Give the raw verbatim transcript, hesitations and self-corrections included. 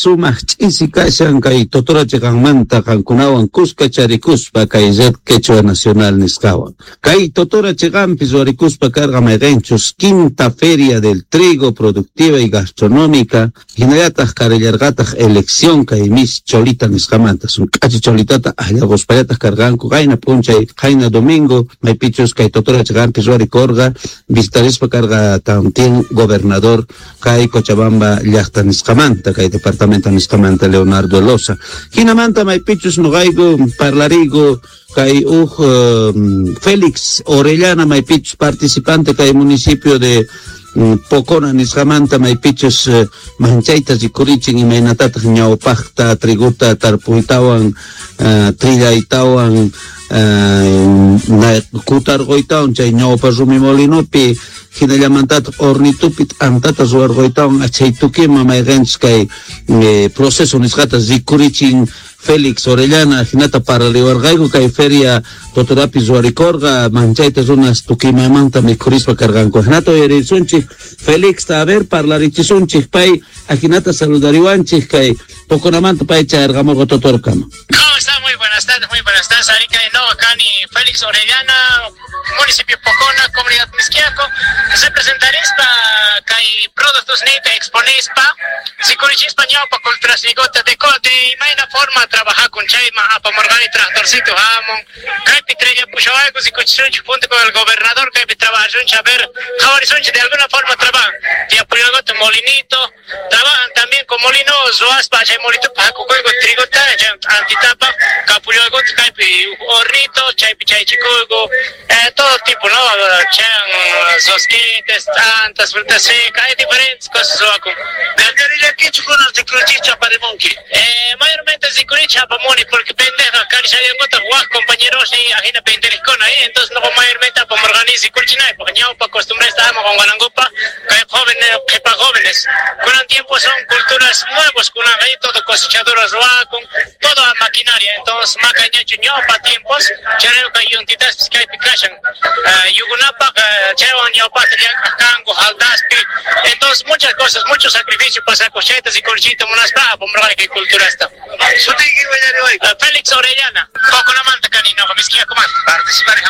Sumaq ch'isi kashan kay Totora chiqanmanta qankunawan kuska charikuspa kay Red Quechua Nacional nisqawan. Kay Totora chiqanpi ruwarikuspa karqa mayqinchus quinta feria del trigo productiva y gastronómica, hinallataq karillarqataq elección kay Miss Cholita nisqamanta, sun k'achi cholitata akllakuspallataq karqanku qayna p'unchay, qayna domingo, maypichus kay Totora chiqanpi ruwarikurqa, visitarispa karqa también gobernador kay Cochabamba llaqta nisqamanta, kay departamento nisqamanta Leonardo Loza. Hinamanta maypichus nuqayku parlariku kay uj um, Félix Orellana maypichus participante kay municipio de um, Pocona nisqamanta maypichus uh, manchayta rikurichin imaynatataq ñawpaqta triguta tarpuytawan uh, trillaytawan uh, kutarquytawan chay ñawpa rumi molinopi hinallamantataq hornitupi t'antata ruwarquytawan achay tukima mayqinchis kay eh, proceso nisqata rikurichin Félix Orellana hinata paraliwarqayku kay feria Totorapi ruwarikurqa manchayta runas tukimamanta mikhurispa karqanku. Hinata uyarisunchik Félix a ver parlarichisunchik pay ajinata saludariwanchik kay Poconamanta pay chayarqamurqa Totorkama. ¿Cómo está? Muy buenas tardes, muy buenas tardes. Arica de nuevo acá ni Félix Orellana, municipio Pocona, comunidad Misquiaco. Se presentarispa kay productos nita exponispa, sikurichispa ñawpa culturasnigota de de imayna forma trabajar con chayma apamorgani tractorcito hamon, kaypi trella pushawayku sikuchisunchik junto con el gobernador kaypi trabajasunchik a ver, jawarisunchik de alguna forma trabajan. Tiapuyalgota molinito, trabajan también con molino ruaspa chay molito pakukuyku trigota chay antitapa, kapuyalgota kaypi hornito, chaypi chaychikuyku, eh, todo tipo, ¿no? Chan, rosquites, tantas frutas secas, hay diferentes cosas ruakun. Eh, mayormente rikurichi apamuni porque pendeja karishayanguta wak compañeros y ajina penderikuna ahí, entonces no mayormente apamorganizi kurchinay, porque ñawpa costumbre estábamos con guarangupa, que jóvenes, que pa jóvenes, con el tiempo son culturas nuevas, con ahí todo cosechadoras ruakun, toda maquinaria, entonces macañachu ñawpa tiempos, chareo kay yuntitas kaypi kashan, yugunapa chaywan ñawpata llank'aq jaldaspi, entonces muchas cosas, mucho sacrificio pasa cosetas y corchito munaspa apamorgani kay culturasta. Félix Orellana, Poconamanta kanino, misquiakumanta. Participar